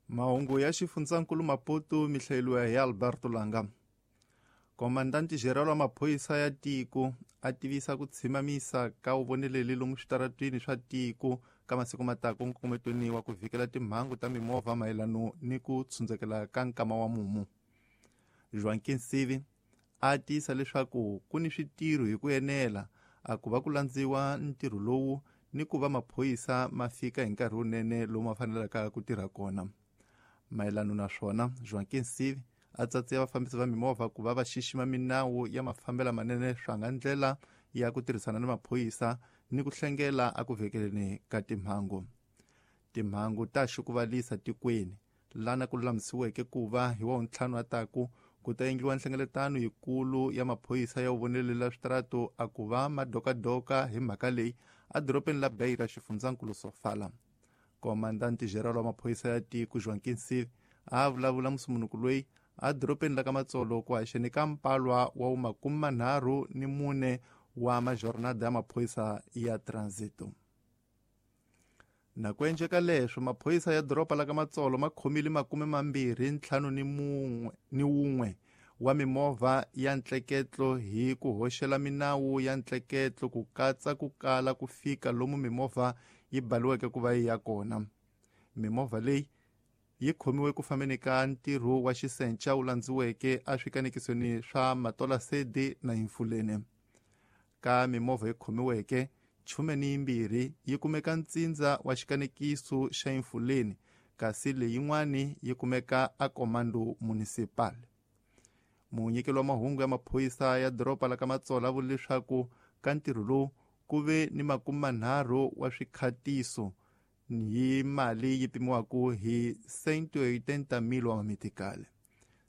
Mahungu ya xifundzankulu Maputo mi hlayeliwa hi Alberto Langa. Komandanti General wa maphorisa ya tiko a tivisa ku tshimamisa ka vuvoneleli lomu switaratwini swa tiko ka masiku matako nkongometweni wa ku vhikela timhangu ta mimovha mayelano ni ku tshundzekela ka nkama wa mumu. Joaquin Sivi a tiyisa leswaku ku ni switirho hi ku enela a ku va ku landziwa ntirho lowu ni ku va maphorisa ma fika hi nkarhi wunene lowu ma fanelaka ku tirha kona. Mayelano na swona, Joaquin Sivi a tsatsiya vafambisi va mimovha ku va va xixima minawu ya mafambelo manene swa nga ndlela ya ku tirhisana ni maphorisa ni ku hlengela a ku vhekeleni ka timhangu. Timhangu ta xukuvalisa tikweni lana ku lulamisiweke ku va hi wa ntlhanu ataku ku ta endliwa nhlengeletano yikulu ya maphorisa ya vuvonelela switaratu a ku va madokadoka hi mhaka leyi edorobeni la Beira xifundzankulu Sofala. Komandanti General wa maphorisa ya tiko Joaquin Sivi a vulavula musumunuku loyi edorobeni la ka Matsolo ku haxeni ka mpalwa wa 34 wa majornada ya maphorisa ya transito. Na ku endleka leswo, maphorisa ya doroba la ka Matsolo ma khomile 21 wa mimovha ya ntleketlo hi ku hoxela minawu ya ntleketlo ku katsa ku kala ku fika lomu mimovha yi baliweke ku va yi ya kona. Mimovha leyi yi khomiwe ku fambeni ka ntirho wa xisenca wu landziweke eswikanekisweni swa Matolasedi na Infulene. Ka mimovha yi khomiweke 12 yi kumeka ntsindza wa xikanekiso xa Infuleni, kasi leyin'wani yi kumeka a Comando Municipal. Munyikeli wa mahungu ya maphorisa ya doroba la ka Matsolo a vule leswaku ka ntirho lowu ku ve ni 30 wa swikhatiso hi mali yi pimiwaka hi 180,000 wa mamitikali.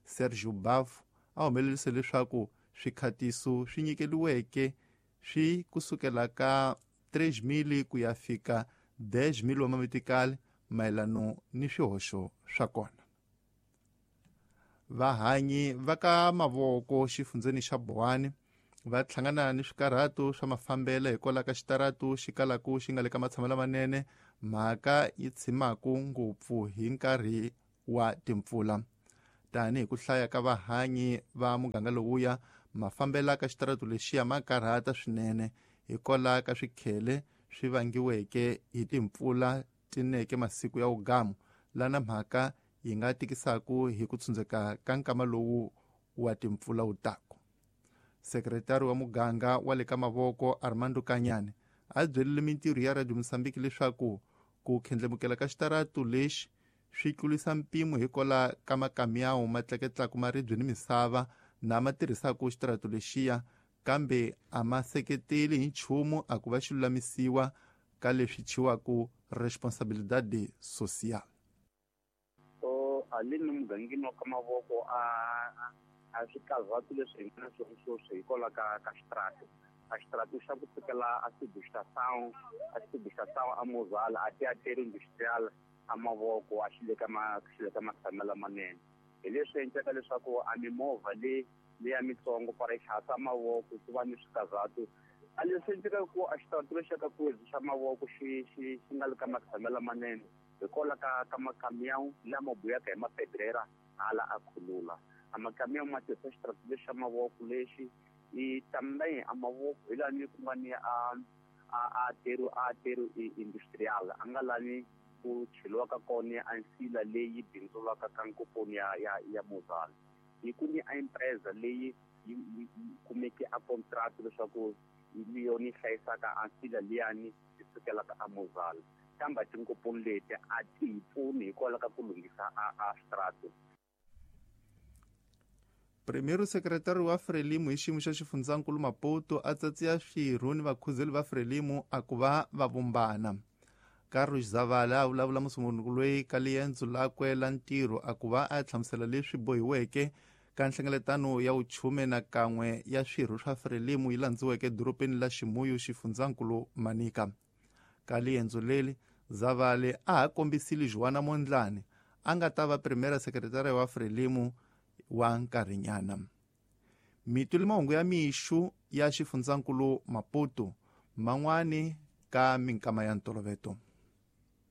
Sergio Bafu a humelerisa leswaku swikhatiso swi nyikeliweke swi kusukela ka 3,000 ku ya fika 10,000 wa mamitikali mayelano ni swihoxo swa kona. Vahanyi va ka Mavoko xifundzeni xa Bohani va hlangana ni swikarhato swa mafambelo hikwalaho ka xitaratu xi kalaku xi nga le ka matshamelo lamanene, mhaka yi tshimaku ngopfu hi nkarhi wa timpfula. Tanihi ku hlaya ka vahanyi va muganga lowuya, mafambelo ka xitaratu lexiya ma karhata swinene hikwalaho ka swikhele swi vangiweke hi timpfula tineke masiku ya wugamu, lana mhaka yi nga tikisaku hi ku tshundzeka ka nkama lowu wa timpfula wu taku. Sekretari wa muganga wa le ka Mavoko Armando Kanyane a byerile mintirho ya Radio Mozambique leswaku ku khendlemukela ka xitaratu lexi swi tlurisa mpimo hikwalaho ka makamiyawu ma tleketlaka maribye ni misava na ma tirhisaka xitaratu lexiya, kambe a ma seketeli hi nchumu a ku va xi lulamisiwa ka leswi thyiwaka responsabilidade social. So alini mugangeni wa ka Mavoko a swikarhatu leswi hi nga na swona sweswi hikwalaho ka xitaratu. A xitaratu xa ku sukela a Subestação, a Subestação a Mozala, a Teatro Industrial a Mavoko a xi le ka xi le ka matshamelo lamanene. Hi leswi endlaka leswaku a mimovha leyi leya mitsongo para xihasa Mavoko ku va ni swikarhatu. A leswi endlekaka ku a xitaratu lexi xa ka Kwezi xa Mavoko xi xi xi nga le ka matshamelo lamanene hikwalaho ka makamiyawu lama buyaka hi mapedrera hala a khulula. A makamiyawu ma tirhisa xitaratu lexi xa Mavoko lexi i também a Mavoko hi lani ku nga ni a ateru industrial a nga lani ku cheliwaka kona a nsila leyi bindzulaka ka nkoponi ya Mozala. Hi ku ni a empresa leyi yi kumeke a contract leswaku hi yona yi hlayisaka a nsila liyani yi sukelaka a Mozala, kambe tinkoponi leti a ti hi pfuni hikwalaho ka ku lunghisa a xitaratu. Premier Secretary wa Frelimo hi xiyimo xa xifundzankulu Maputo a tsatsiya swirho ni vakhuzeli va Frelimo a ku va va vumbana. Carlos Zavala a vulavula musunguri loyi ka liendzo lakwe la ntirho a ku va a hlamusela leswi bohiweke ka nhlengeletano ya vuchume na kan'we ya swirho swa Frelimo yi landziweke edorobeni la Ximuyu xifundzankulu Manica. Ka liendzo leri Zavale a ha kombisile Joana Mondlane a nga ta va Primera Secretary wa Frelimo wa nkarhinyana. Mituli mahungu ya mixu ya xifundzankulu Maputo man'wani ka minkama ya ntoloveto.